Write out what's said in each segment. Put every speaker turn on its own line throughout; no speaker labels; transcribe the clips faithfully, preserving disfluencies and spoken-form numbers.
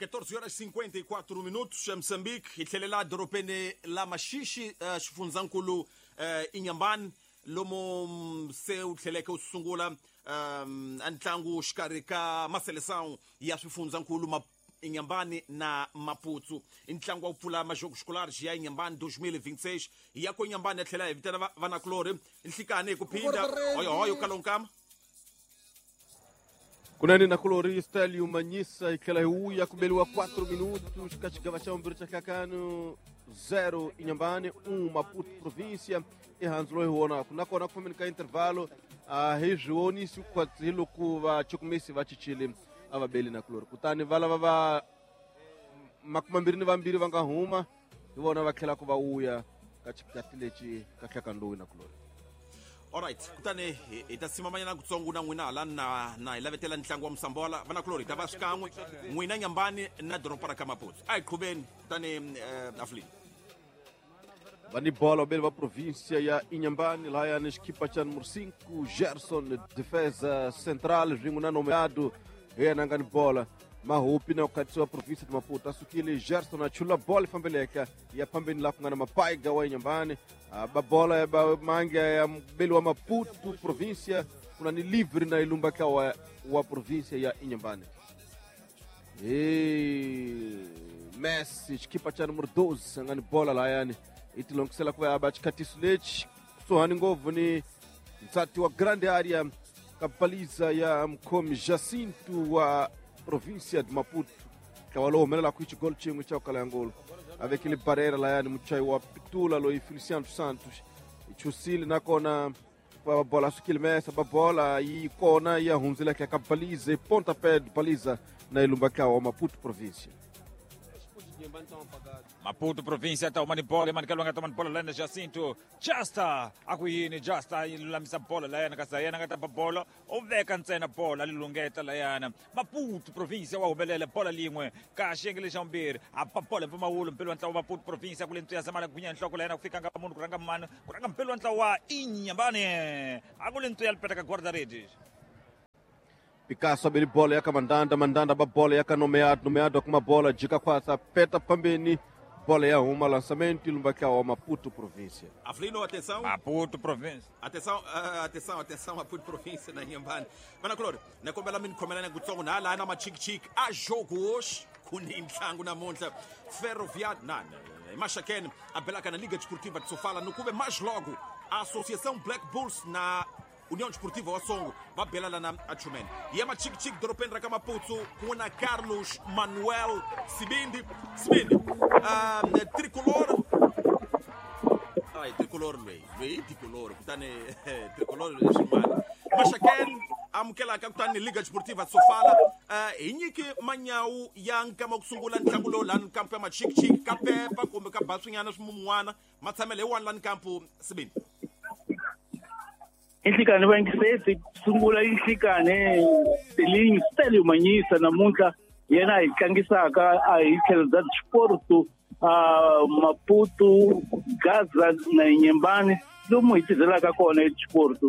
catorze horas e cinquenta e quatro minutos, em Moçambique, hi tlhelela dorobeni la Maxixe, uh, xifundzankulu uh, Inhambane, lomo se wu tlheleke wu sungula um, ntlangu xikarhi ka maseleção ya swifundzankulu ma Inhambane na Maputo. Ntlangu wa ku pfula majogos escolares ya Inhambane dois mil e vinte e seis. Ya ko Inhambane ya tlhela hi vitana vanakulorhi nhlikani hi ku phinda hoyohoyo kalonkama.
Kunene nakulori Stélio Manyisa hi tlhela hi wuya ku beliwa quatro minutos ka xigava xa vumbirhi xa nhlakano zero Inhambane um Maputo província ehansi loyi hi vonaka nakona ku fambeni ka intervalo a hi swi vonisi hi loko vachukumisi va cincile a va beli nakulori kutani va lava va makumambirhi ni vambirhi va nga huma hi vona va tlhelaka va wuya ka xikati lexi ka nhlakano lowu nakulori.
Alright, kutani hi ta simamanyana kutsongo na n'wina hala na na hi lavetela ntlangu wa Msambola vanakulori hi ta va xikan'we n'wina Inhambane na doroba ra ka Maputo. A hi qhuveni kutani uh, Aflin.
Va ni bola vabeli va província ya Inhambane lahayani xikipa xa número cinco Gerson defesa central swin'we na nomeado hi yena a nga ni bola Mahupi na khatisiwa província de Maputo a sukile Gerson a chula bola fambeleka ya phambeni la ku nga na Mapaiga wa Inhambane ba bola ya ba mange ya mbeli wa Maputo província kuna ni livre na ilumba ka wa, wa província ya Inhambane. E Messi xikipa xa número doze a nga ni bola lahayani i tilongisela ku va ya ba xikhatiso lexi kusuhani ngopfu ni nsati wa grande area kapaliza ya mkhomi Jacinto wa província de Maputo ntlawa lowu humelelaka hi xigolo xin'we xa ku kala ya ngolo a vekile barera layani muchayi wa pitula loyi Feliciano Santos i chusile nakona va bola sukile mesa ba bola yi kona ya hundzileka ka baliza pontapé de baliza na ilumba ntlawa wa Maputo província.
Maputo província ta uma ni bola mani kalwanga toma bola lana Jacinto Justa akuyini Justa ilulamisa bola layana kasi yena nga ta ba bola u veka ntsena bola lilungeta layana Maputo província wa humelela bola lin'we ka xiyenge xa vumbirhi a ba bola mpfumawulo mpelo wa ntlawa wa Maputo província ku le ntsu ya zamala gunya nhloko layana ku fika nga munhu ku rhanga mani ku rhanga mpelo wa ntlawa wa Inhambane a ku le ntsu ya lipeta ka guarda-redes.
Picasso abeli bola yaka Mandanda, Mandanda ba bola yaka Nomeado, Nomeado kuma bola jika kwasa peta pambeni bola ya huma lançamento ilumba ka wa Maputo província.
Aflino, atenção.
Maputo província.
Atenção, uh, atenção, atenção Maputo província na Inhambane. Vanakulori, na kombela min khomelana kutsongo na la na machik-chik a jogo hoje ku ni ntlangu namuntlha Ferroviário na Maxaquene a belaka na Liga Desportiva de Sofala no kuve mais logo a Associação Black Bulls na União Desportiva Osongo va belala na Achumene. E é machik-chik dorobeni ra ka Maputo ku na Carlos Manuel Sibindi. Sibindi. Um, tricolor. Ai, tricolor loyi. Loyi tricolor. Kutani tricolor xin'wana. Maxaquene amukelaka kutani Liga Desportiva Sofala. Uh, hi nyiki manyawu ya nkama ku sungula ntlangu lowu lani kampu ya machik-chik ka pepa kumbe ka baswinyana swimun'wana matshamelo hi wani lani kampu Sibindi.
Inhlikane va yingiseti sungula inhlikane Telinho Stélio Manyisa namuntlha yena hi tlangisaka a hi tlhelo bya Sport a Maputo Gaza na Inhambane lomu hi tirhelaka kona eSport.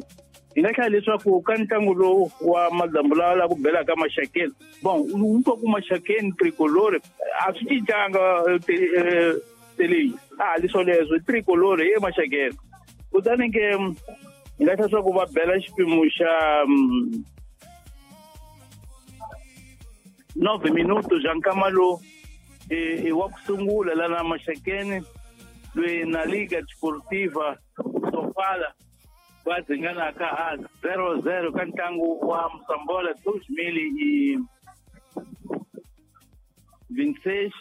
Hi nga hlaya leswaku ka ntlangu lowu wa madyambu lawa la ku belaka Maxakeni bon u twa ku Maxakeni tricolore a swi cincanga Telinho a leswo leswo tricolore ye Maxakeni kutani ke hi nga hlaya leswaku va bela xipimo xa nove minutos xa nkama lowu i wa ku sungula lana Maxakeni loyi na Liga Desportiva Sofala va dzinganaka a zero zero ka ntlangu wa Msambola dois mil e vinte e seis.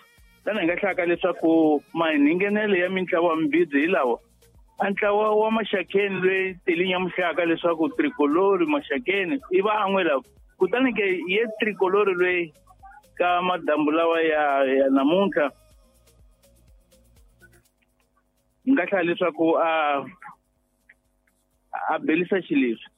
Lana hi nga hlaya leswaku mahingenelo ya mintlawa mimbirhi hi lawa a ntlawa wa Maxakeni loyi Telinho muhlaka leswaku tricolore Maxakeni i van'we lava kutani ke ye tricolore loyi ka madambu lawa ya, ya namuntlha hi nga hlaya leswaku a a belisa xileswi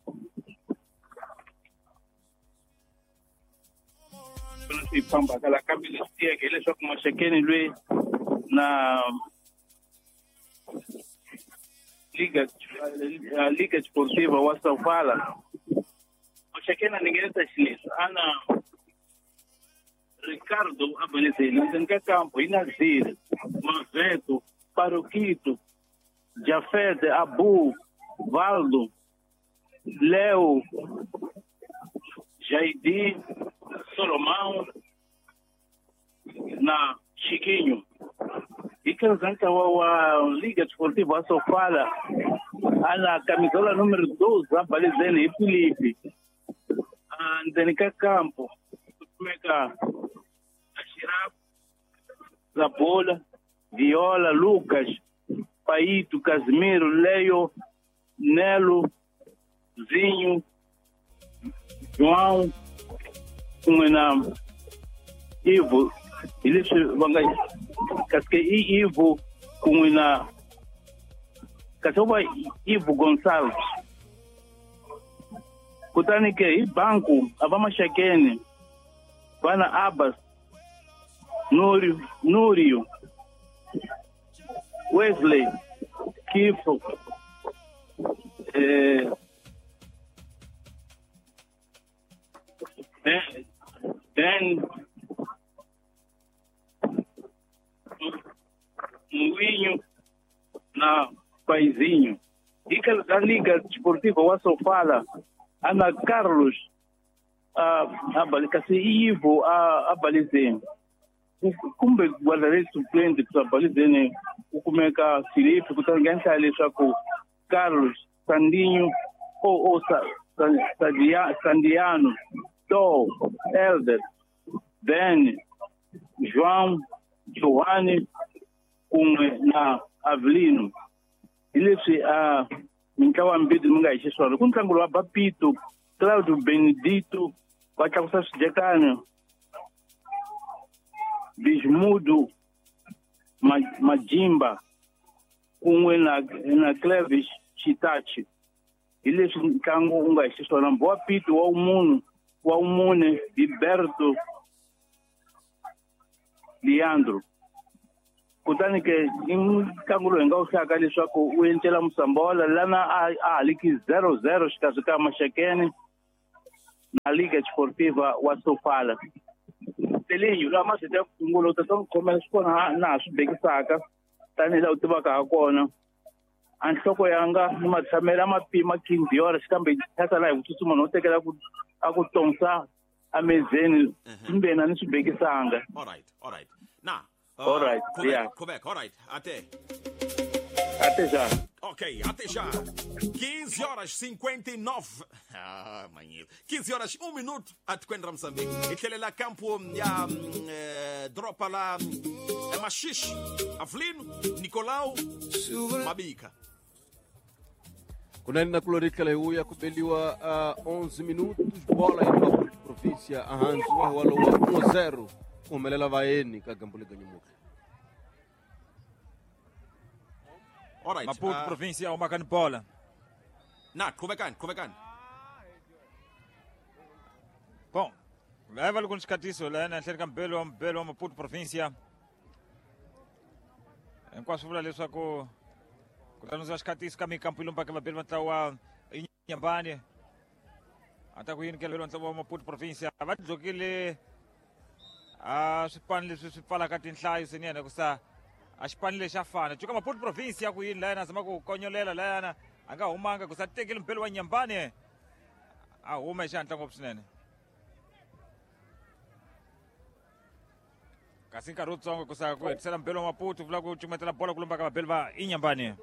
swi fambaka la kambe leswi tiyeke hileswaku Maxakeni loyi na Liga Liga Desportiva wa Sofala Maxakeni a ningenisa xileswi a na Ricardo Abalezeni endzeni ka kampo hi Nazir Maveto Paroquito Jafete Abu Valdo Leo Jaidi Solomão na Chiquinho. E que wa wa Liga Desportiva Sofala ana camisola número doze Abalezeni e Felipe endzeni ka kampo kumeka Ashiraf Zabola Viola Lucas Paito Casimiro Leio Nelo Zinho João kun'we na Ivo hi leswi va nga kasi i Ivo kun'we na kasi va Ivo Gonçalves. Kutani ke hi banku a va Maxakeni vana Abbas Núrio Núrio Wesley Kifo eh, Ben Ben Mwinho na Paizinho. E que a Liga Desportiva wa Sofala ana Carlos a a kasi Ivo a Abalezeni kumbe guarda-redes suplente ku Abalezeni ku kumeka Filipe kutani nga endla leswaku Carlos Sandinho ou ou Sandiano To Elder Ben João Giovanni kun'we na Avelino. Hi leswi a mintlawa mbirhi mi nga hi xiswona ku ntlangu wa Bapito Claudio Benedito va tlakusa swidyekani Bismudo Majimba kun'we na na Clevis Chitachi. Hi leswi ntlangu wu nga hi xiswona Mbowa Pito wa munhu wa mune Gilberto Leandro. Kutani ke i ntlangu lowu hi nga wu hlayaka leswaku wu encela Musambola lana a haliki zero zero xikarhi ka Maxakeni na Liga Desportiva wa Sofala. Telinho laha mazito ya ku sungula u ta ta n'wi khomela swi kona na ha swi bekisaka tanihi laha u tivaka ha kona. A nhloko yanga ni matshamelo a ma pima quinze horas kambe thyaka laha hi ku tsutsuma no tekela ku a ku tonsa amezeni kumbe na ni swi bekisanga.
All right, all right. Na Uh,
all right,
Quebec,
yeah.
Quebec, all right. Até.
Até já.
Ok, até já. quinze horas e cinquenta e nove. Ah, manhã. quinze horas, um minuto até Moçambique. E tele lá campo ya eh, dropa lá é Machixe, Avelino, Nicolau, Mabica.
Kunani na kulorika leo kubeliwa uh, onze minutos bola ya Maputo província ahanzi wa walo wa um a zero. Kumelela vaeni ka gambule ganyimuka.
All right.
Maputo
uh,
província o makani bola.
Na, qhubekani, qhubekani.
Bom, leva alguns xikatiso lana enhleni ka mbelo wa mbelo wa Maputo província. Hinkwaswo vula leswaku ku tlanisiwa xikatiso ka mikampo yi lombaka vabeli va ntlawa wa Inyambani. A ta ku yini kelelo ntlawa wa Maputo província va dlokile a swipano leswi swi pfalaka tinhlayo swinene ku sa a xipano lexi a fana cuka Maputo province ya ku yini layana a zama ku konyolela layana a nga humanga ku sa tekeli mpelo wa Nyambani a huma hi xihatla ngopfu swinene kasi nkarhi wutsongo ku sa ku hetisela mpelo wa Maputo vula ku cukumetela bola ku lomba ka vabeli va Inyambani.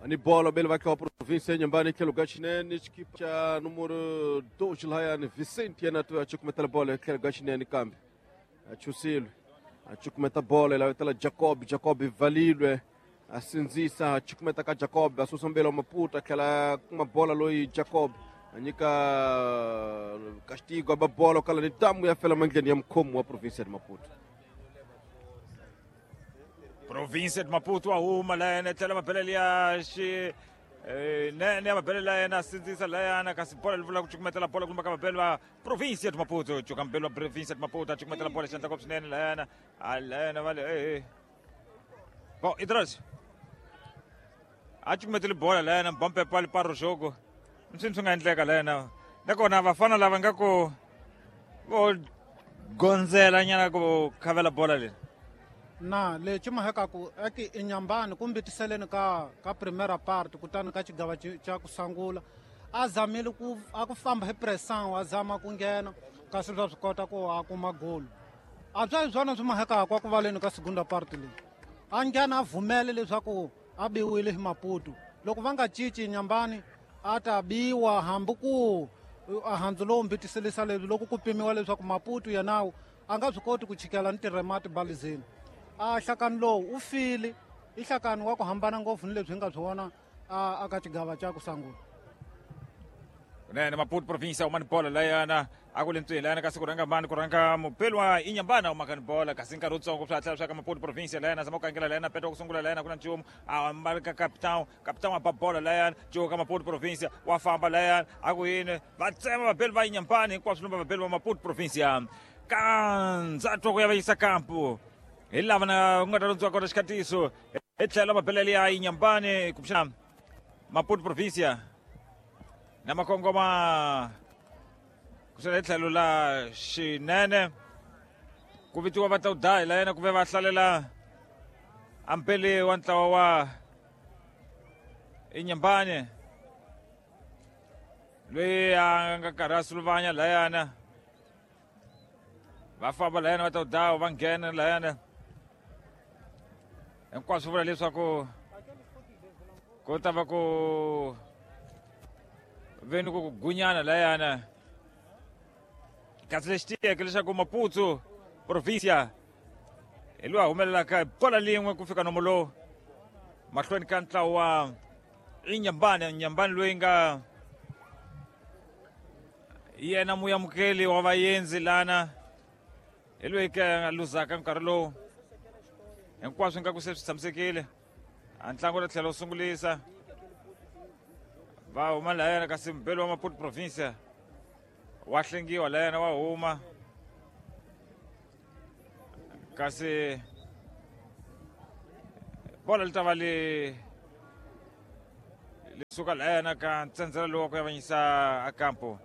Ani bola bele vai para a província Inhambane que lugar chinene equipa cha número dois lá yani Vicente yana tu acho como tá bola que lugar chinene kambi achusilo acho como tá bola lá tá Jacob Jacob valilwe asinzisa acho como tá Jacob asusa mbele Maputo aquela uma bola loi Jacob anyika castigo a bola kala ni tamu ya fela mangeni ya mkomo wa província de Maputo.
Província de Maputo a huma layana tlhela mabelele ya xi nene ya mabelele layana sindzisa layana kasi bola li vula ku cukumetela bola ku lumba ka vabeli va Província de Maputo cuka mbeli wa Província de Maputo a cukumetela bola xandla ngopfu swinene layana a layana va le e bom Idris a cukumetele bola layana mbampepa li paro jogo msini swi nga endleka layana Nakona vafana lava nga ku vo gondzela nyana ku khavela bola leyi.
Na lexi mahekaku eki Inhambane kumbe tiseleni ka ka primera parte kutani ka xigava xa ku sungula a zamile ku a ku famba hi pressão a zama ku nghena kasi swa swi kota ku a kuma golo a bya hi swona swi mahekaku a ku valeni ka segunda parte leyi a nghena a vhumele leswaku a biwile hi Maputo loko va nga cinci Inhambane a ta biwa hambi ku a handzu lowu mbitiselisa leswi loko ku pimiwa leswaku Maputo yenawu a nga swi koti ku chikela ni tirhemati balizeni a hlakani lowu u file i hlakani wa ku hambana ngopfu ni leswi hi nga swi vona a ka xigava xa ku sungula.
Kunene Maputo province uma ni bola layana a ku le ntsweni layana kasi ku rhanga mani ku rhanga mupeli wa Inhambane uma ka ni bola kasi nkarhi wutsongo swi hatla swa ka Maputo province layana zama ku kangela layana peta ku sungula layana ku na nchumu a mbali ka capitão capitão a ba bola layana cuka Maputo province wa famba layana a ku yini va tsema vapeli va Inhambane hinkwaswo lumba vapeli va Maputo province kandzatwa ku ya va yisa kampu hi lava na ku nga ta londziwa kona xikhatiso hi tlhelo mapelele ya Inhambane kumbexana Maputo province na makongoma kusela hi tlhelo la xinene ku vitiwa va ta udayi la yena ku ve va hlalela ampeli wa ntlawa wa Inhambane loyi a nga karhi a suluvanya layana va famba layana va ta udayi va nghena layana hinkwaswo vula leswaku ku ta va ku veni ku gunyana layana kasi lexi tiyeke leswaku Maputo province hi loyi a humelelaka hi bola lin'we ku fika nomo lowu mahlweni ka ntlawa wa Inhambane Inhambane loyi nga yena muyamukeli wa vaendzi lana hi loyi ke a luzaka nkarhi lowu hinkwaswo nga ku se swi tshamisekile a ntlangu ri tlhela wu sungulisa va huma layana kasi mbeli wa Maputo province wa hlengiwa layana wa huma kasi bola li ta va li li suka layana ka ntsendzela lowu wa ku yavanyisa a kampo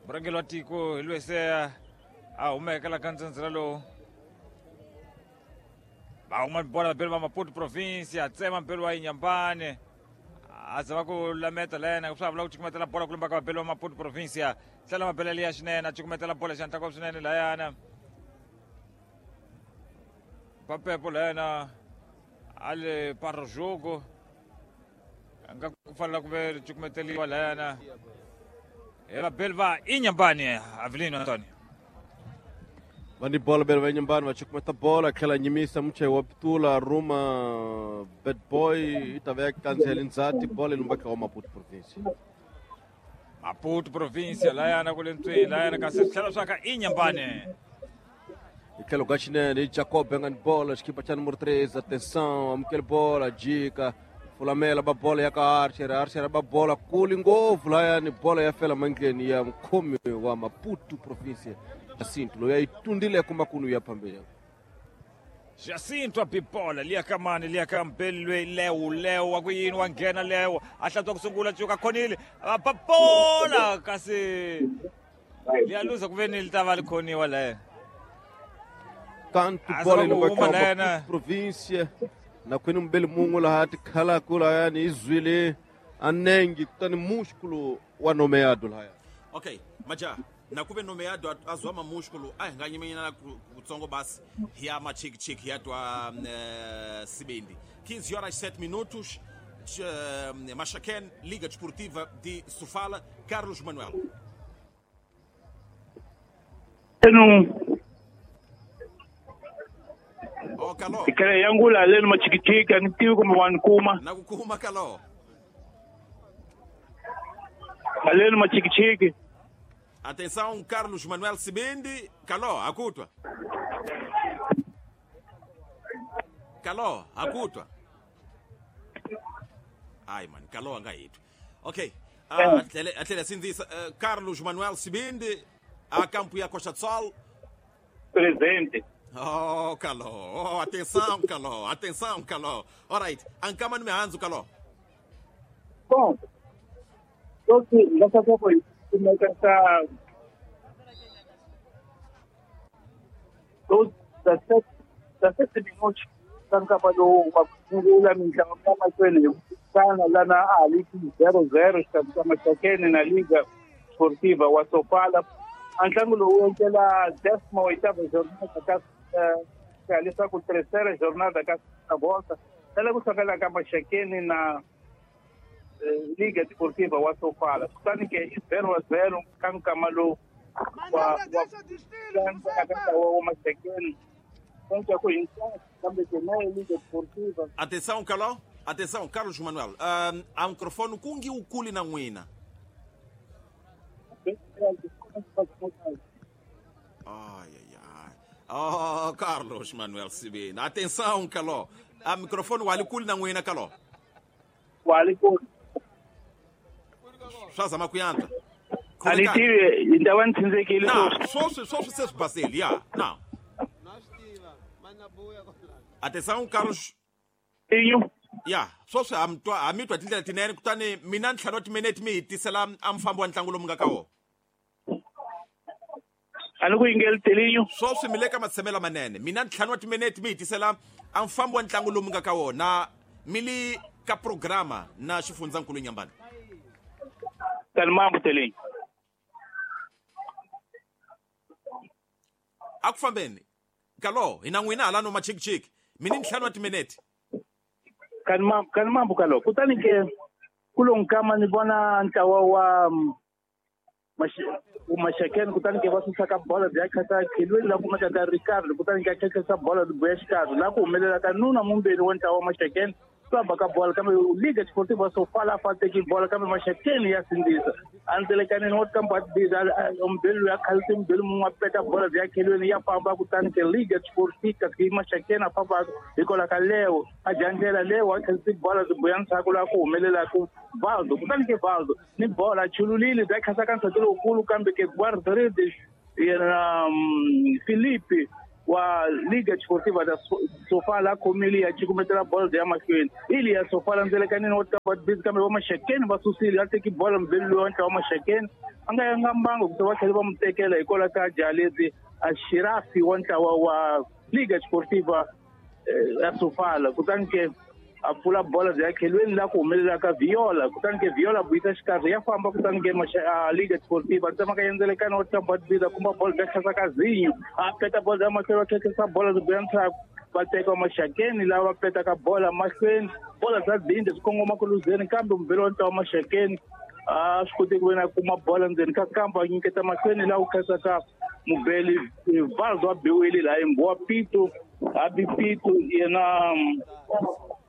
murhangeri wa tiko hi loyi se a humeke la ka ntsendzela lowu va huma bola vapeli va Maputo province a tsema mbeli wa Inhambane a zama ku lameta layena swa vula ku cukumetela bola ku lumba ka vapeli va Maputo province tlhela mapelele ya xinene a cukumetela bola xi ntlangu swinene layana papepo layana a le para jogo a nga ku fanela ku ve ri cukumeteliwa layana hi vapeli va Inhambane Avelino Antonio
va ni bola bele va Inhambane va cukumeta bola tlhela nyimisa muchayi wa pitula ruma bad boy yi ta va ya kandziyela ndzhati bola yi lumbaka wa Maputo province
Maputo province layana ku le ntsweni layana kasi swi tlhela swa ka Inhambane
hi tlhelo ka xinene hi Jacob nga ni bola xikipa xa numero três atenção amukele bola jika fulamela ba bola ya ka Archer Archer ba bola kuli ngopfu layani bola ya fela mandleni ya mukhomi wa Maputo province Jacinto loyi a yi tundile kumakunu ya phambili
Jacinto a bibola liya ka mani liya ka mbeli loyi lewu lewu wa ku yini wa nghena lewu a hlantswa ku sungula cuka khonile va ba bola kasi liya luza ku ve ni li ta va li khoniwa leyo
kantu bola yi lumba ka Maputo province na kwini mbeli mun'we laha tikhalaku layani yi zwile a nenge kutani músculo wa nomeado lahaya
okay maja na kuve nomeado azwa mamusculo a hi nga nyimenyana kutsongo basi hi ya machikichiki hi ya twa uh, Sibindi quinze horas sete minutos uh, Maxaquene, Liga Desportiva de Sofala, Carlos Manuel.
Eno
Oh, Kalo.
Ikele yangu la leno machikichiki anitiwi kumbe wanikuma.
Nakukuma Kalo.
Aleno machikichiki.
Atenção, Carlos Manuel Sibindi. Kaló, akutwa. Kaló, akutwa. Ai, mano, Kaló angaitwa. Ok. Uh, atlele assim diz, uh, Carlos Manuel Sibindi, a campo e a Costa do Sol.
Presente.
Oh, Kaló. Oh, atenção, Kaló. Atenção, Kaló. Alright. Ankama no mehanzo, Kaló.
Bom. Sweswi leswaku hi kumeka ka dezessete minutos ka nkama lowu wa ku sungula mitlangu ya mahlweni hi ku tirhisana lana a ha li zero zero xikarhi ka Maxakeni na Liga Sportiva wa Sofala. A ntlangu lowu wu endlela décima oitava jornada ka ka leswaku terceira jornada ka volta tala ku hlangana ka Maxakeni na Liga Desportiva wa Sofala. Kutani ke i zero zero ka nkama lowu wa wa Maxakeni.
Atenção, Caló. Atenção, Carlos Manuel. Um, há um microfone kungi ukuli na ngwina. Ai, ai, ai. Oh, Carlos Manuel Sibina. Atenção, Caló. Há microfone wali kuli na ngwina, Caló.
Wali kuli.
Swaza makuyanta.
Ali tive, então ntinzekile.
Não, só só vocês Brasília. Não. Atenção, Carlos.
Inho.
Ya, só se amtwa amitwa tindlela tinene kutani mina ntlhanu wa timinete mi hi tisela a mfambo wa ntlangu lomu nga ka wona.
A ni ku yingeli Telinho.
Swo swi mi le ka matshamelo manene. Mina ntlhanu wa timinete mi hi tisela a mfambo wa ntlangu lomu nga ka wona mi li ka programa na xifundzankulu Nyambani.
Kalmambu Telinho.
A ku fambeni. Kalo, hina n'wina hala no machikichiki. Mina ntlhanu wa timinete.
Kanimambu kanimambu kalo. Kutani ke kulo nkama ni vona ntlawa wa Maxakeni kutani ke va susa ka bola bya khata khelweni la kumeka ka Ricardo kutani ke khakhasa bola buya xikarhi la ku humelela ka nuna mumbeni wa ntlawa wa Maxakeni famba ka bola kambe Liga Desportiva Sofala fa teki bola kambe Maxakeni ya sindzisa andzelekaneni wa kamba biza umbeni ya khalisi mbeni mun'we peta bola bya khelweni ya famba kutani ke Liga Desportiva ke Maxakeni a famba hikola ka Leo a jandlela Leo a khalisi bola buya ndzhaku la ku humelela ku Valdo kutani ke Valdo ni bola chululile bya khasa ka nsati lowukulu kambe ke guarda-redes yena Felipe wa Liga Desportiva da Sofala khomile ya cukumetela bola ya mahlweni ili ya Sofala ndzelekaneni wa tabad kambe wa Maxakeni va susile a teki bola mbeli loyi wa ntlawa wa Maxakeni a nga yanga mbango ku va tlhela va mu tekela hikwalaho ka Jalezi a Shirafi wa ntlawa wa Liga Desportiva ya Sofala kutani ke a pfula bola bya khelweni la ku humelela ka Viola kutani ke Viola buyisa xikarhi ya famba kutani ke Liga Desportiva tsemaka yendzelekana wa tabad biza kumba bola bya tlhasa ka Zinho a peta bola ya mahlweni va tlhekisa bola bya ndzhaku va teka Maxakeni lava petaka bola mahlweni bola bya dinde swi kongoma ku luzeni kambe mubeli wa ntlawa wa Maxakeni a swi koti ku ve na kuma bola ndzeni ka kampa a nyiketa mahlweni laha ku khasaka mubeli Valdo a biwile laha Imbowa Pito a bi Pito yena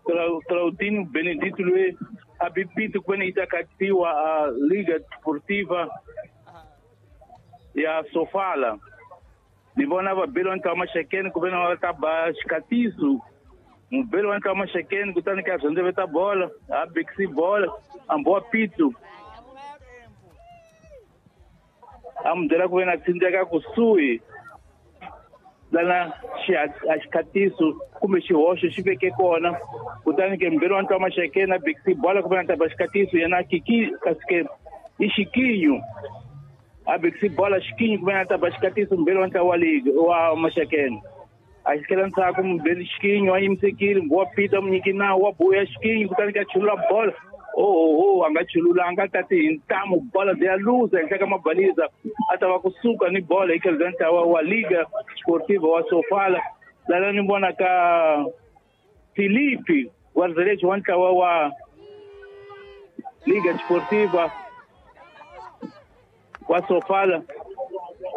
Claudinho Benedito loyi a bi Pito ku veni yi ta katiwa a Liga Desportiva ya Sofala. Ni vona vabeli wa ntlawa Maxakeni ku veni va ta ba xikatiso mubeli wa ntlawa Maxakeni kutani ka rhendzeveta bola a bikisi bola a Mbowa Pito a mu byela ku veni a tsindzeka kusuhi lana a xikhatiso kumbe xihoxo xi veke kona kutani ke mbeli wa ntlawa Maxakeni a bikisi bola ku veni a ta ba xikhatiso yena kiki kasi ke i Xikinyo a bikisi bola Xikinyo ku veni a ta ba xikhatiso mbeli wa ntlawa wa liga wa Maxakeni a xikela ndzhaku mubeli Xikinyo a yimisekile Mbowa Pito a mu nyiki nawu wa buya Xikinyo kutani ke a chulula bola oh oh a nga chululanga tati hi ntamu bola bya luza henhla ka mabaliza a ta va kusuka ni bola hi tlhelo bya ntlawa wa Liga Desportiva wa Sofala lana ni vona ka Felipe guarda-redes wa ntlawa wa Liga Desportiva wa Sofala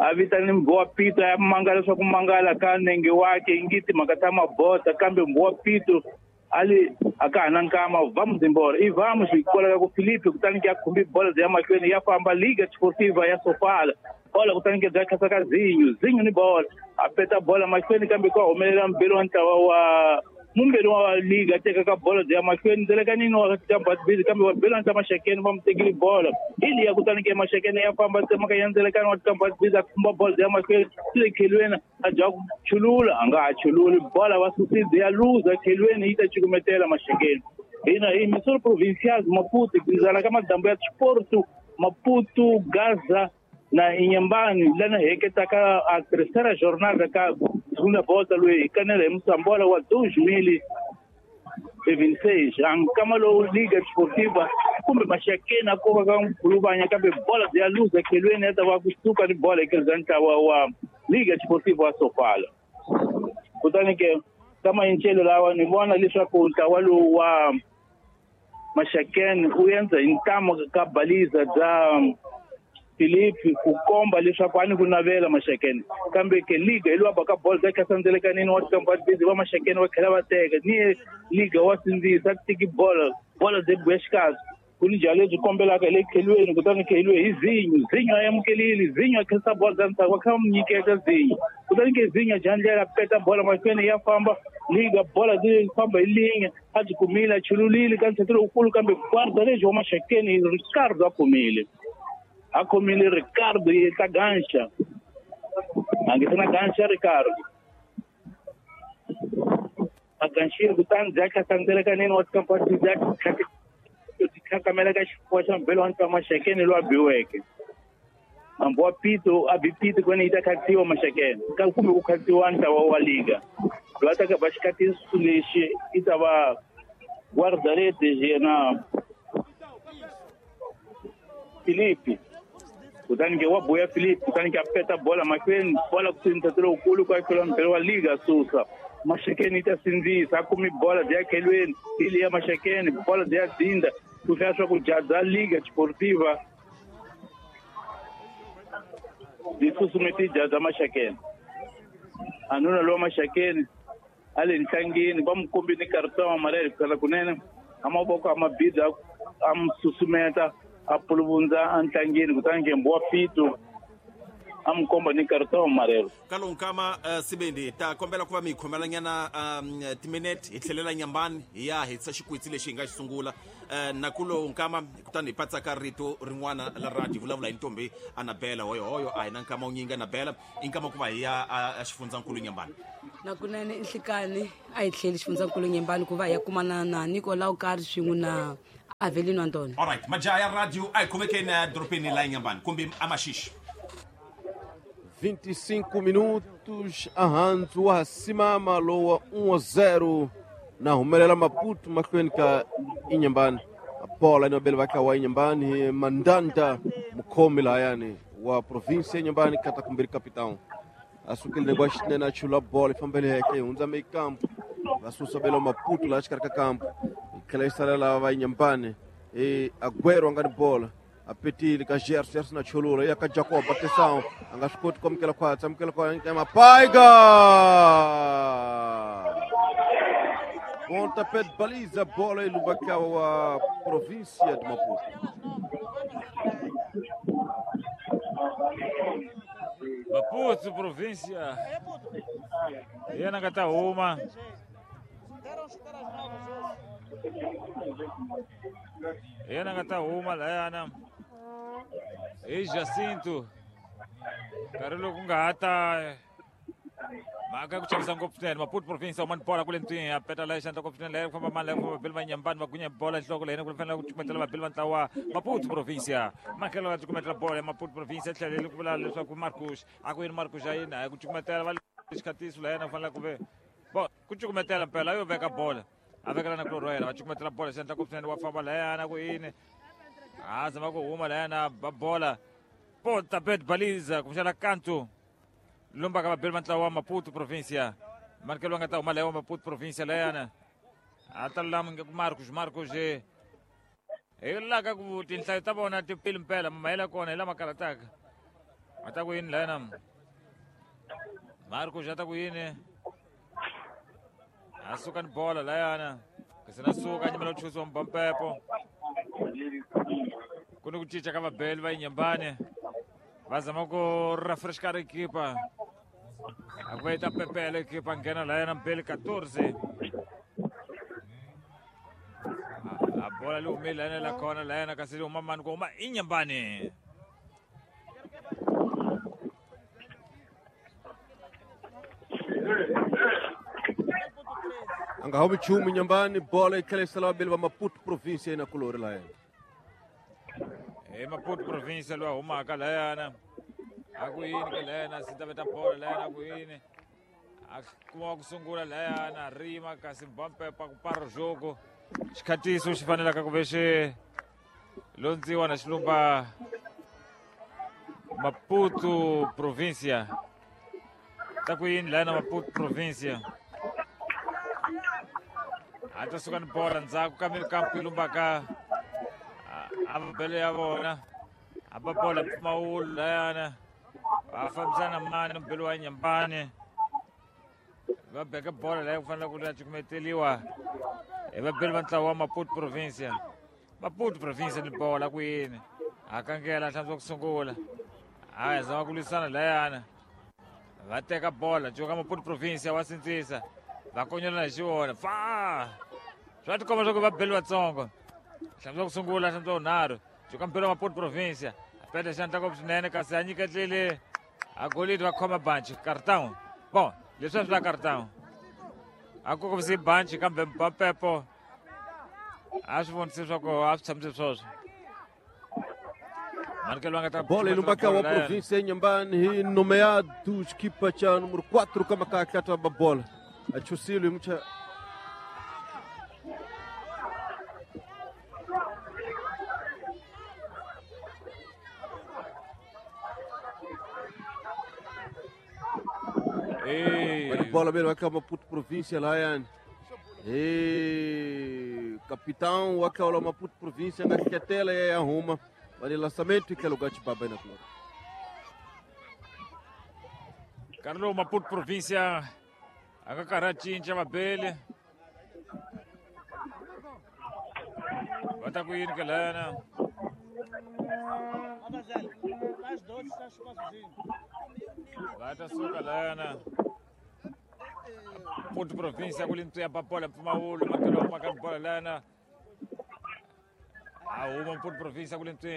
a vitani Mbowa Pito ya mangala leswaku mangala ka nenge wake ingi timhaka ta mabota kambe Mbowa Pito ali a ka ha na nkama vamos embora e vamos hikwalaho ka ku Felipe kutani ke a khumbi bola ya mahlweni ya famba Liga Desportiva ya Sofala bola kutani ke bya khasa ka Zinho Zinho ni bola a peta bola mahlweni kambe ka humelela mbeli wa ntlawa wa mumbeli wa Liga teka ka bola ya mahlweni ndzelekanini wa tabad kambe va beli wa ntlawa Maxakeni va mu tekile bola ili ya kutani ke Maxakeni ya famba tsemaka ya ndzelekanini wa tabad a khumba bola ya mahlweni swi le khelweni a dya ku chulula a nga ha chululi bola va susile ya luza khelweni yi ta cukumetela Maxakeni. Hina hi emissora provincial Maputo kuzala ka madambu ya Sporto Maputo Gaza na Inhambane lana heketaka a terceira jornada ka segunda volta loyi hi kanela hi Moçambola wa dois mil e vinte e seis ankama lowu Liga Desportiva kumbe Maxakeni a ko va ka Nkhuluvanya kambe bola ya luza khelweni ya ta va kusuka ni bola eka ntlawa wa Liga Desportiva wa Sofala. Kutani ke ka mayincelo lawa ni vona leswaku ntlawa lowu wa Maxakeni u endza hi ntamu ka baliza bya Filipe ku komba leswaku a ni ku navela Maxakeni kambe ke liga hi lowa baka bolo bya khasandzelekanini wa tikamba busy va Maxakeni va tlhela va teka ni liga wa sindzisa ku tiki bolo bolo byi buya xikarhi ku ni jalo lebyi kombelaka hi le khelweni kutani kheliwe hi Zinyo Zinyo a amukelile Zinyo a khensa bolo bya ndzhaku va kha va mu nyiketa Zinyo kutani ke Zinyo dya ndlela peta bolo mahlweni ya famba liga bola byi famba hi linga a byi kumile a chululile ka ntsheto lowukulu kambe guarda lebyi wa Maxakeni Ricardo a kumile a khomile Ricardo yi ta ganxa a nge na ganxa Ricardo a ganxile kutani bya khasandzelekanini wa tikampani bya khakamela ka xifuwa xa mbelo wa ntwa Maxakeni loyi a biweke hambi wa pito a bi pito kwene yi ta khatsiwa Maxakeni ka kumbe ku khatsiwa ntlawa wa liga loyi a ta ka ba xikatiso lexi i ta va guarda-redes yena Filipe kutani ke wa buya Filipe kutani ke a peta bola mahlweni bola ku sindzisa lowukulu ku akhela mbelo wa liga susa Maxakeni yi ta sindzisa a kumi bola bya khelweni hi leya Maxakeni bola bya dzinda ku hlaya swa ku jaza Liga Desportiva byi susumeti jaza Maxakeni a nuna lowa Maxakeni a le ntlangeni va mu kombile karton marele kala kunene a mavoko a mabida a mu susumeta a puluvundza a ntlangeni kutani ke mbuwa pito a mu komba ni karton marelo
ka lowu nkama uh, Sibindi ta kombela ku va mi hi khomelanyana um, timinete hi tlhelela Nyambani hi ya hetisa xikwitsi lexi hi nga xi sungula uh, na ku lowu nkama kutani hi patsaka rito rin'wana la radio hi vulavula hi ntombi Anabela hoyohoyo a hi na nkama wu nyingi Anabela i nkama ku va hi ya a xifundzankulu Nyambani.
Nakunene i nhlikani a hi tlheli xifundzankulu Nyambani ku va hi ya kumana na Nicolau Kari swin'we na Avelino Antônio.
Alright, majaha ya radio a hi khomekeni edorobeni la Nyambani kumbe aMaxixi.
vinte e cinco minutos ahandzu wa ha simama lowa um a zero na humelela Maputo mahlweni ka Inhambane. Bola inobele vaka wa Inhambane Mandanda mukhomi lahayani wa província ya Inhambane kata kumbiri capitão asukile negwa xinene a chula bola yi fambele heke yi hundza meyi kampo va susa belo Maputo laha xikarhi ka kampo yi tlhela yi salela va Inhambane e Aguero a nga ni bola a petile ka Gerson Gerson na cholula ya ka Jacob atenção a nga swi koti ku amukela khwatsi amukela khwatsi Mapaiga pontapé de baliza bola yi lumbaka wa província de Maputo.
Maputo província yena nga ta huma yena nga ta huma layana hi Jacinto nkarhi lowu ku nga ha ta mhaka ya ku chavisa ngopfu swinene. Maputo province huma ni bola kule ntwini a peta laya xandla ngopfu swinene laya ku famba mani laya ku famba vabeli va Nyambani va gunya bola nhloko leyi ku fanele ku cukumetela vabeli va ntlawa Maputo province makhelo va cukumetela bola ya Maputo province tlhelele ku vula leswaku Marcos a ku yini Marcos a yini a ku cukumetela va xikhatiso layena ku fanele ku ve bo ku cukumetela mpela yo veka bola a vekela na kulorhi wa yena va cukumetela bola xandla ngopfu swinene wa famba layana ku yini a zama ku huma layana ba bola pontapé de baliza kumbexana kanto lumba ka vabeli va ntlawa wa Maputo província manikelo va nga ta huma laya wa Maputo província layana a ta lulama ku Marcos Marcos hi la ka ku tinhlayo ta vona ti pili mpela mahela kona hi lama karataka a ta ku yini layana Marcos a ta ku yini a suka ni bola layana kasi na suka a nyimela ku chusiwa mbampepo ku ni ku cinca ka vabeli va Inhambane va zama ku refrescar ekipa a ku va yi ta pepela ekipa nghena layana mbeli quatorze a bola li humile layana la kona layana kasi li huma mani ku huma Inhambane.
A nga humi nchumu Nyambani, bola yi tlhela yi sala vabeli va Maputo province na kulori layani.
Hi Maputo province loyi a humaka layana. A ku yini ke layana si ta veta bola layana a ku yini. A kuma ku sungula layana rima kasi bampepa ku para jogo. Xikhatiso xi fanelaka ku ve xi londziwa na xilumba Maputo provincia. Ta ku yini layana Maputo provincia. A ta suka ni bola ndzhaku ka kampu yi lumbaka a mabele ya vona. A ba bola mpfumawulo layana. Va fambisana mani mbele wa Nyambani. Va beka bola leyi ku fanele ku ya cukumeteliwa hi vabeli va ntlawa wa Maputo provincia. Maputo provincia ni bola ku yini. A kangela hlantswa ku sungula. A zama ku lwisana layana. Va teka bola cuka Maputo provincia wa sindzisa. Va konyolana hi xiwona. Fa! Swa tikomba swa ku va beli vatsongo. Hlantswa ku sungula hlantswa vunharhu. Cuka mbele wa Maputo provincia. A peta xandla ngopfu swinene kasi a nyiketlile a golidi va khoma banchi cartão. Bom, leswi a swi la cartão. A ku kombisi banchi kambe Mbapepo a swi vonisi swa ku a swi tshamise swoswo. Manikelo a nga ta
bola yi lumbaka wa province ya Nyambani hi nomeado xikipa cha número quatro ka makaka ta ba bola. A chusile hi mucha bola bele wa Maputo província layani. E capitão wa ka Maputo província nga ketela ya arruma. Vale lançamento que é lugar de baba na flor.
Carlos Maputo província a nga karhi a cinca vabeli. Va ta ku yini ke lana? Va ta suka lana. Maputo província ku lintu ya ba bola mpfumawulo makelo wa maka bola lana. A huma Maputo província ku lintu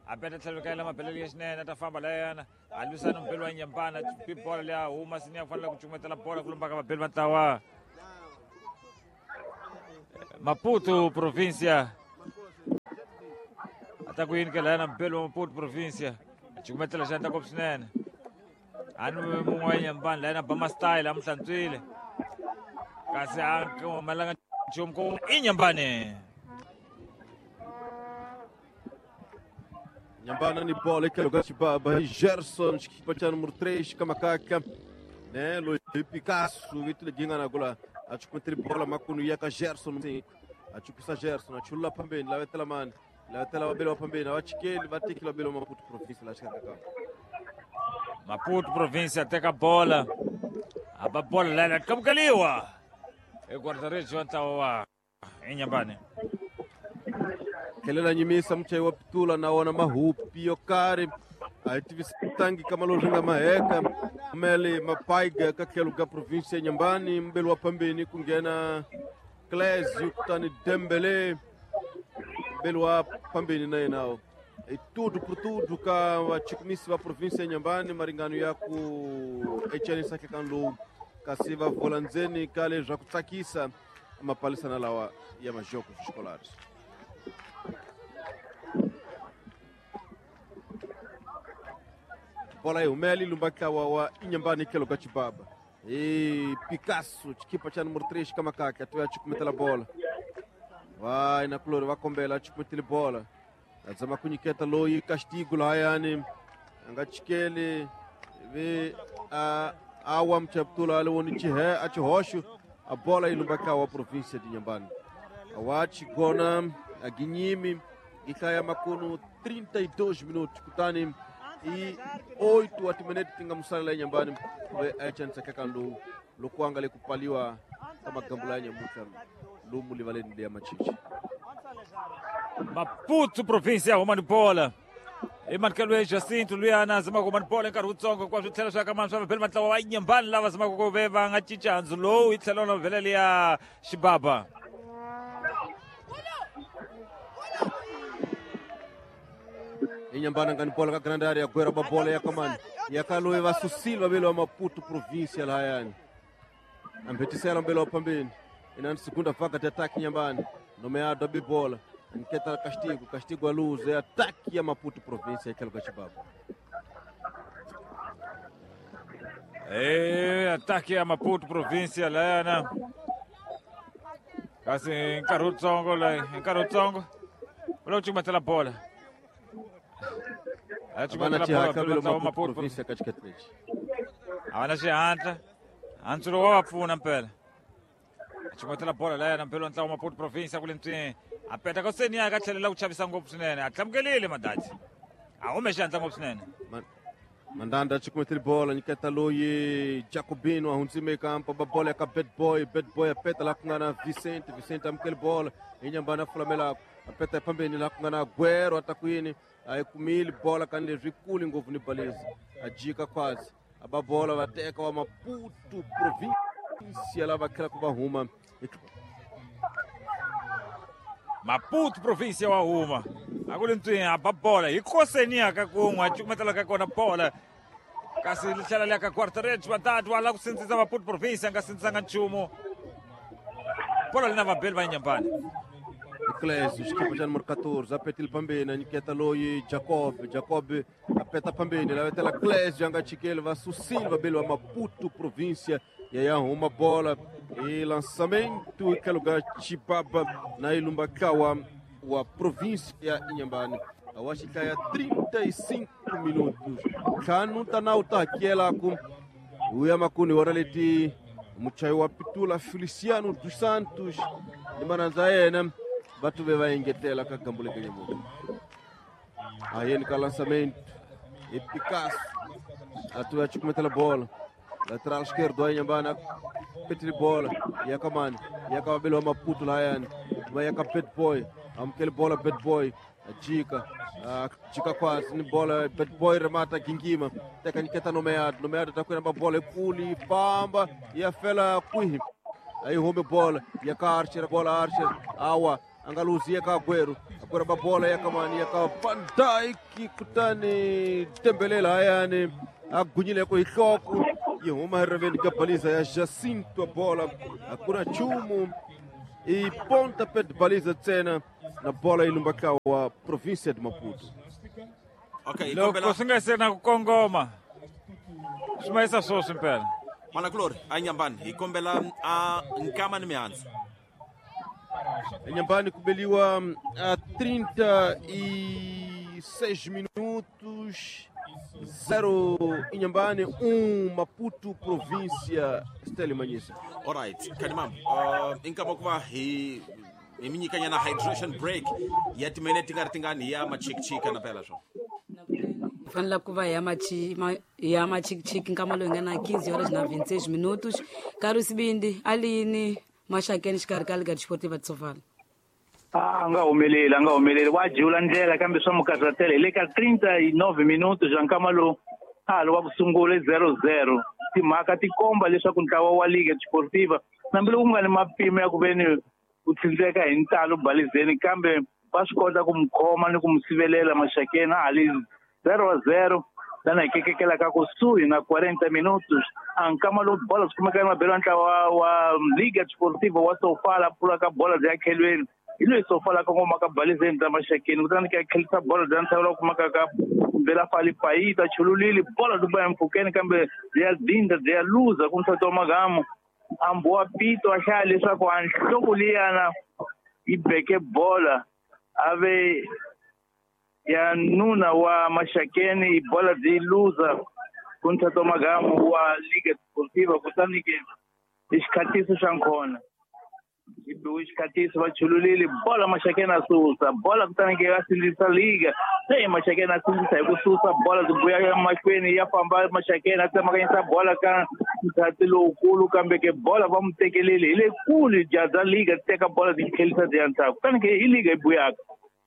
a beta tlhelo ka yena mabelele ya xinene a ta famba layana. A lwisana mbeli wa Nyambana pi bola leya huma sini ya fanele ku cukumetela bola ku lumbaka vabeli va ntlawa Maputo província. A ta ku yini ke layana mbeli wa Maputo província. A cukumetela xandla ngopfu swinene. A ni mun'we wa Nyambani layana ba ma style a mu hlantswile. Kasi a humelanga nchumu ku i Nyambani.
Nyambana ni bola que é lugar de baba. Gerson, equipa cha número três, Kamakaka, né? Luiz Picasso, Vitor Ginga na gola. A chukumetri bola makunu yaka Gerson. A chukisa Gerson, a chula pambeni, la vetela man, la vetela babelo wa pambeni, a chikeli vatikila babelo Maputo província la chikaka.
Maputo província teka bola. A ba bola lana kamkaliwa. E guarda-redes wa ntlawa wa Inyambani.
Kelela nyimisa mchai wa pitula na wana mahupi yo karhi a tivisangi kama lo ringa maheka mele mapaiga ka tlhelo ka província ya Nyambani mbeli wa pambeni ku nghena Clésio kutani Dembele mbeli wa pambeni na yena e tudo por tudo ka vachikumisi va província ya Nyambani maringano ya ku echanisa ka lowu kasi va vola ndzeni ka leswi ku tsakisa mapalisana lawa ya majoko escolares. Bola yi humele lumbaka wa wa Inhambane que lugar de baba. E Picasso, equipa cha número três Kamakaka, tu ya chukumetela bola. Vai na flor, vai kombela chukumetela bola. Azama kunyiketa loyi castigo layani. Anga chikele ve a awa mchaptula ale woni chihe a chihosho a bola yi lumbaka wa província de Inhambane. Awachi gona a Guinhime ikaya makuno trinta e dois minutos kutani e oito atimenete tinga musala la Inhambane ve achansa kakandu lokwanga le kupaliwa kama gambula ya nyamuka lumu livaleni ya machichi.
Maputo província humani bola. I Mankelo Jacinto luyana zama ku mani bola nkarhi wutsongo kwa swi tlhela swi aka mani swa vabeli ntlawa wa Inhambane lava zamaka ku ve va nga cinca handzu lowu yi tlhela na vhele liya xibaba.
Inhambane ngani bola ka grande área gwera ba bola ya kamani ya kaloe va Susilva vele wa Maputo província lahayani. Ambetisela mbele wa pambeni. Ina segunda vaga de ataque Inhambane. Nomeado a bola. Nketa castigo, castigo a luz, é ataque a Maputo província, aquele Gachibaba.
É, ataque a Maputo província layana. Kasi nkarhi wutsongo loyi, hi nkarhi wutsongo u lava ku cukumetela bola. A
Havana
cukumetela bola
xihatla
velo
velo
ntlawa
Maputo
Maputo
província ka xiketi lexi.
a va na xihatla. Antsulo wa va pfuna mpela. A cukumetela bola layana mpela ntlawa Maputo província kule ntswini. A peta ka seni ya ka tlhelela ku chavisa ngopfu swinene. A tlamukelile Madadi. A hume xihatla ngopfu swinene.
Man- Mandanda cukumetele bola nyiketa loyi Jacobino a hundzime kampa ba bola ya ka Bad Boy, Bad Boy a peta la ku nga na Vicente, Vicente amukele bola Inhambane a fulamelako a peta phambeni la ku nga na Aguero a ta ku yini a yi kumile bola kani leswi kuli ngopfu ni balezi a jika khwazi a ba bola va teka wa Maputo província lava tlhelaka va huma
Maputo província wa huma. A ku ri ntswini a ba bola hi koseni ya ka kun'we a cukumetela ka kona bola. Kasi li tlhela li ya ka Quarterage Madadi wa lava ku sindzisa Maputo província a nga sindzisanga nchumu. Bola li na vabeli va Inhambane.
Clésio, xikipa xa número catorze, apetile phambeni a nyiketa loyi Jacob, Jacob apeta phambeni lavetela Clésio a nga chikeli va susile vabeli va Maputo província ya ya huma bola e lançamento eka lugar Chibaba na Ilumba Kawa wa província ya Inhambane. A xikaya trinta e cinco minutos. Ntlhanu ta nawu ta hakela ku uya makuni hora leti muchayi wa pitula Feliciano dos Santos ni manandza ya yena va tuve va engetela ka gambu leke nyamuka. A yeni ka lançamento e Picasso a tuve a cukumetela bola. Lateral esquerdo aí Inhambane petile bola ya kamani ya ka vabeli wa Maputo layani va ya ka Bad Boy amukele bola Bad Boy jika jika kwasi ni bola Bad Boy remata gingima teka nyiketa nomeado nomeado ta kwena bola ikuli famba ya fela kwihi aí hume bola ya ka Archer bola Archer awa angaluzia ka Aguero Aguero ba bola ya kamani ya ka Van Dijk kutani Dembele layani agunyile ko ihloko yi huma hi riveni ka baliza ya Jacinto a bola hakuna chumu e pontapé de baliza ntsena na bola yi lumbaka wa província de Maputo.
Okay,
Loko swi nga se na ku kongoma swi mayisa swoswi mpela.
Manakulori a Inhambane hi kombela a nkama ni mihandzu.
Inhambane ku beliwa a trinta e seis minutos zero Inhambane um Maputo província Stélio Manhissa.
Alright, Kanimam, uh, inkama ku va hi hi mi nyikanyana hydration break ya timinete ti nga ri tingani ya machikichiki na phela swo.
Fanele ku va ya machi ma, ya machikichiki nkama lowu hi nga na quinze horas na vinte e seis minutos. Nkarhi sibindi alini Maxakeni xikarhi ka Liga Desportiva de Sofala.
A nga humeleli, a nga humeleli wa jula ndlela kambe swa mukarhatela hi le ka trinta e nove minutos ya nkama lowu a wa ku sungula zero zero. Timhaka ti komba leswaku ntlawa wa Liga Desportiva hambiloko ku nga ni mapimo ya ku veni ku tsindzeka hi ntalo balizeni kambe va swi kota ku mu khoma ni ku mu sivelela Maxakeni a hali zero zero lana hi kekekela ka kusuhi na quarenta minutos. A nkama lowu bola swi kumeka mabelo ya ntlawa wa Liga Desportiva wa Sofala pfula ka bola bya khelweni hi loyi Sofala kongoma ka balizeni ta Maxakeni kutani ka khelisa bola bya ntshava lowu kumaka ka Bela Fali Paita chululile bola byi ya mpfhukeni kambe bya dinda bya luza ku msati wa magamu ambuwa pito a hlaya leswaku a nhloko liyana yi beke bola a ve ya nuna wa Maxakeni bola byi luza ku msati wa magamu wa Liga Desportiva kutani ke i xikhatiso xa nkhona yi biwe xikhatiso va chululile bola Maxakeni a susa bola kutani ke va sindzisa Liga se Maxakeni a sindzisa hi ku susa bola byi vuya emahlweni ya famba Maxakeni a tsemakanyisa bola ka nthati lowukulu kambe ke bola va mu tekeleli hi le kule jaza Liga teka bola byi tlhelisa byi ya ndzhaku kutani ke i Liga yi buyaka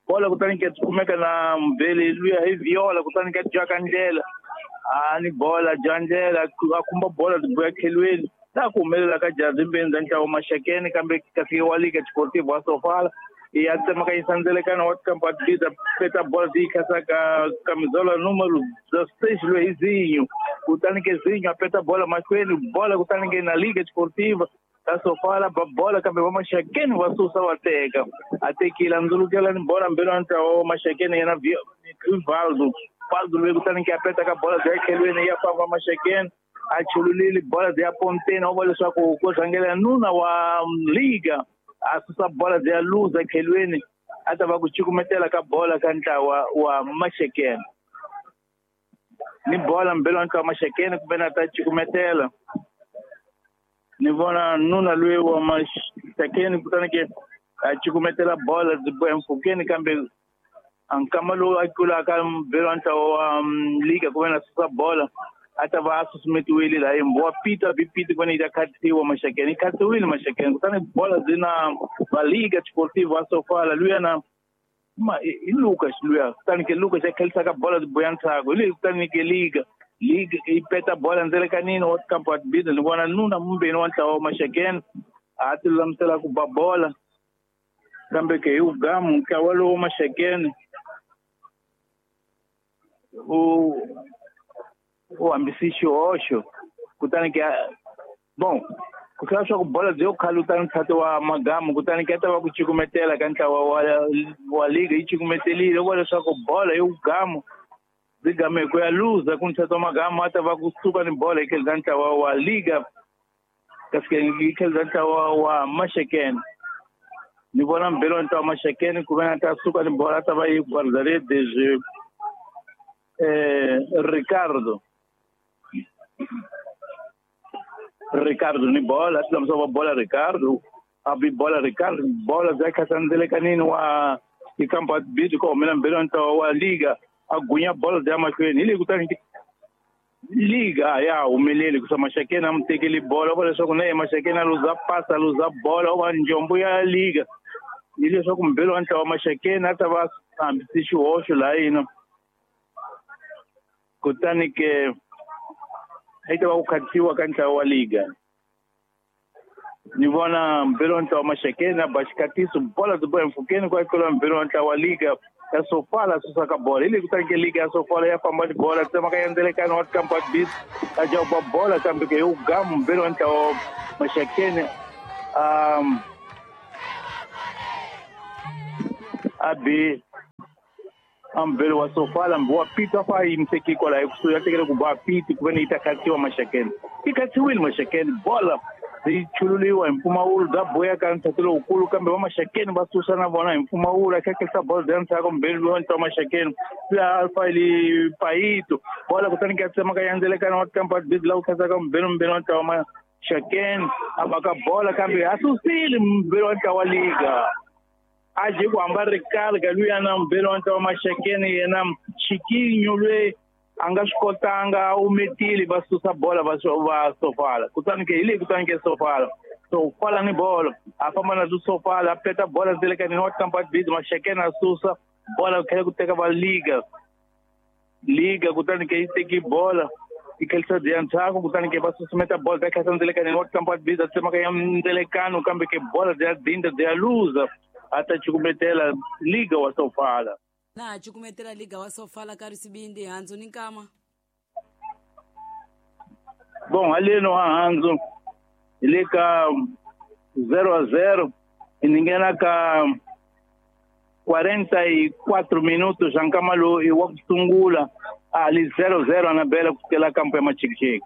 bola kutani ke kumeka na Mbele luya hi Viola kutani ke jaka ndlela a ni bola dya ndlela a khumba bola byi vuya tlhelweni laha ku humelela ka jazi mbeni bya ntlawa Maxakeni kambe kasi wa Liga Desportiva wa Sofala ya tsemakanyisa ndzelekano wa tikampa peta bola byi khasa ka camisola número dezesseis loyi hi Zinho kutani ke Zinho a peta bola mahlweni bola kutani ke na Liga Desportiva Ta Sofala ba bola kambe va Maxakeni va susa va teka. A tekile a ndzulukela ni bola mbelo wa ntlawa wa Maxakeni yena Valdo. Valdo loyi kutani ke a peta ka bola bya tlhelweni ya famba Maxakeni. A chululile bola bya ponteni wa vona leswaku ku rhangela nuna wa Liga. A susa bola bya luza tlhelweni a ta va ku cukumetela ka bola ka ntlawa wa Maxakeni. Ni bola mbelo wa ntlawa wa Maxakeni kumbe na ta cukumetela. Ni vona nuna loyi wa Maxakeni kutani ke a cukumetela bola byi boha mpfhukeni kambe a nkama lowu a tlulaka mbelo wa ntlawa wa Liga kumbe na susa bola a ta va a susumetiwile laha wa Peter bi Peter ku yi ta khatsiwa Maxakeni yi khatsiwile Maxakeni kutani bola byi na va Liga Desportiva wa Sofala luya na ma i Lucas luya kutani ke Lucas a khelisaka bola byi boya ntshaku hi leyi kutani ke Liga Liga yi peta bola ndzelekanini wa kampo wa tibida ni vona nuna mumbeni wa ntlawa wa Maxakeni a ti lulamisela ku ba bola kambe ke hi ugamu ntlawa lowu Maxakeni u u hambisi xihoxo kutani ke bon ku tlhela swa ku bola byi yo khaluta ntshato wa Magamu kutani ke ta va ku cukumetela ka ntlawa wa wa Liga yi cukumetelile ku leswaku bola yi ugamu byi game hi ku ya luza ku ntshato wa Magamu a ta va ku suka ni bola yi khelisa ntlawa wa Liga kasi ke yi khelisa ntlawa wa Maxakeni. Ni vona mbelo wa ntlawa wa Maxakeni ku ve na ta suka ni bola a ta va yi guarda-redes eh Ricardo Ricardo ni bola tlamisa wa bola Ricardo a bi bola Ricardo bola bya khasandzelekanini wa ikampa bidi ko mina mbelo ntlawa wa Liga a gunya bola bya mahlweni hi leyi kutani Liga ya humeleli ku sa Maxakeni a mu tekeli bola va leswaku na ye Maxakeni a luza pasa a luza bola wa njombo ya Liga hi leswaku mbelo wa ntlawa wa Maxakeni a ta va hambisi xihoxo laha yina kutani ke a ta va ku khatsiwa ka ntlawa wa Liga. Ni vona mbelo wa ntlawa wa Maxakeni a ba xikatiso bola byi boha mpfhukeni ku a tlula mbelo wa ntlawa wa Liga ya Sofala a susa ka bola hi leyi kutani ke Liga ya Sofala ya famba ni bola tsemaka ya ndzelekani wa kampo wa tibisi a jawuba bola kambe ke hi ugamu mbelo wa ntlawa wa Maxakeni um a bi ambelo wa Sofala mbi wa Peter fa yi muteki kwalaho ekusuhi ya tekele ku ba Pete ku ve ni yi ta khatsiwa Maxakeni yi khatsiwile Maxakeni bola yi chululiwa hi mpfumawulo bya boya ka ntshato lowukulu kambe va Maxakeni va susa na vona hi mpfumawulo a khakhisa bola bya ntshaku mbelo wa ntlawa Maxakeni luya Alfa Payito bola kutani ke a tsemaka ya ndzelekana wa kampa bidi la ku khatsaka mbelo mbelo wa ntlawa Maxakeni a baka bola kambe a susile mbelo wa ntlawa Liga a je ku hamba Ricardo luya na mbelo wa ntlawa Maxakeni yena Chiquinho loyi a nga swi kotanga a umetile va susa bola va va Sofala kutani ke hi leyi kutani ke Sofala Sofala ni bolo a famba na Sofala a peta bola ndzelekanini wa kampa bidi Maxakeni a susa bola ku tlhela ku teka va Liga Liga kutani ke yi teki bola yi khelisa bya ntshaku kutani ke va susumeta bola ta khelisa ndzelekanini wa kampa bidi a tsemaka ya ndzelekano kambe ke bola bya dinda bya luza a ta cukumetela Liga wa Sofala.
Na cukumetela Liga wa Sofala ka risibindi hanzu ni nkama.
Bon haleno ha hanzu hi le ka zero a zero ni nghena ka quarenta e quatro minutos xa nkama lowu i wa ku sungula a li zero zero Anabela ku sukela kampo ya Machikichiki.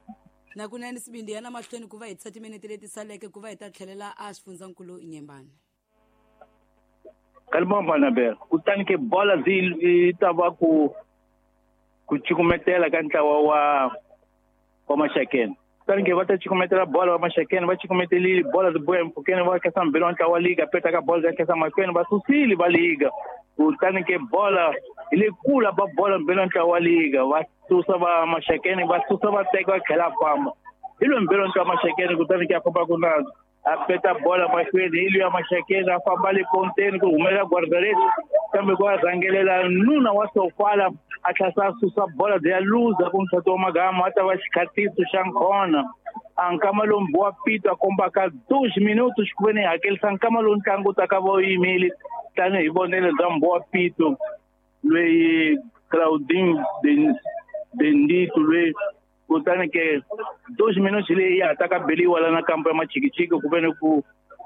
Na kunene sibindi yana mahlweni ku va hi tisa timinete leti saleke ku va hi ta tlhelela a xifundzankulu Inyembani.
Kalibomba Anabela kutani ke bola zi ta va ku ku cukumetela ka ntlawa wa wa Maxakeni kutani ke va ta cukumetela bola wa Maxakeni va cukumetelile bola byi boya mpfhukeni va khensa mbelo wa ntlawa wa Liga peta ka bola bya khensa mahlweni va susile va Liga kutani ke bola hi le kula ba bola mbelo wa ntlawa wa Liga va susa va Maxakeni va susa va teka va tlhela famba hi loyi mbelo wa ntlawa wa Maxakeni kutani ke a famba ku na a peta bola mahlweni hi luya Maxakeni a famba le ponteni ku humelela guarda-redes kambe ku a rhangelela nuna wa Sofala a tlhasa a susa bola bya luza ku ntshato wa Magamu a ta va xikhatiso xa nkhona a nkama lowu mbi wa Pito a kombaka dois minutos ku ve ni hakelisa nkama lowu ntlangu wu ta ka va wu yimile tanihi vonelo bya mbi wa Pito loyi Claudine Bendito loyi kutani ke Dois minutos leyi ya ha ta ka beliwa la na kampo ya Machikichiki ku ve ni ku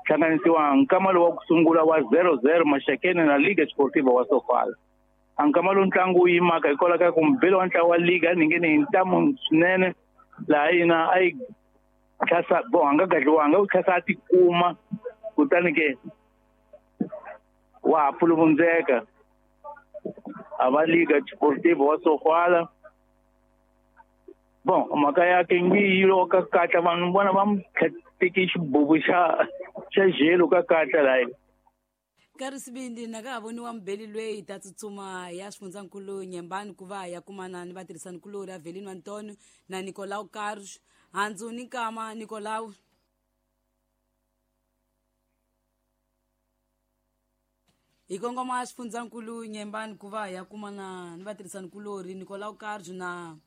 hlanganisiwa nkama lowu wa ku sungula wa zero zero Maxakeni na Liga Sportiva wa Sofala. A nkama lowu ntlangu wu yimaka hikwalaho ka ku mubeli wa ntlawa wa liga a ni nge ni hi ntamu swinene laha yina a yi tlhasa bon a nga gadliwanga u tlhasa a tikuma kutani ke wa ha pfuluvundzeka a va Liga Sportiva wa Sofala. Bon mhaka ya ke ngi yi lo ka katla vanhu vona va mu teki xibubu xa xa jelo ka katla layi.
Nkarhi sibindi na ka ha voniwa mubeli lweyi ta tsutsuma ya xifundzankulu Nyembani ku va ya kumana ni vatirhisanikulori Avelino Antonio na Nicolau Carlos handzu ni nkama Nicolau. Hi kongoma xifundzankulu Nyembani ku va ya kumana ni vatirhisanikulori Nicolau Carlos na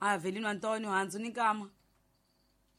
Avelino Antonio handzu ni nkama.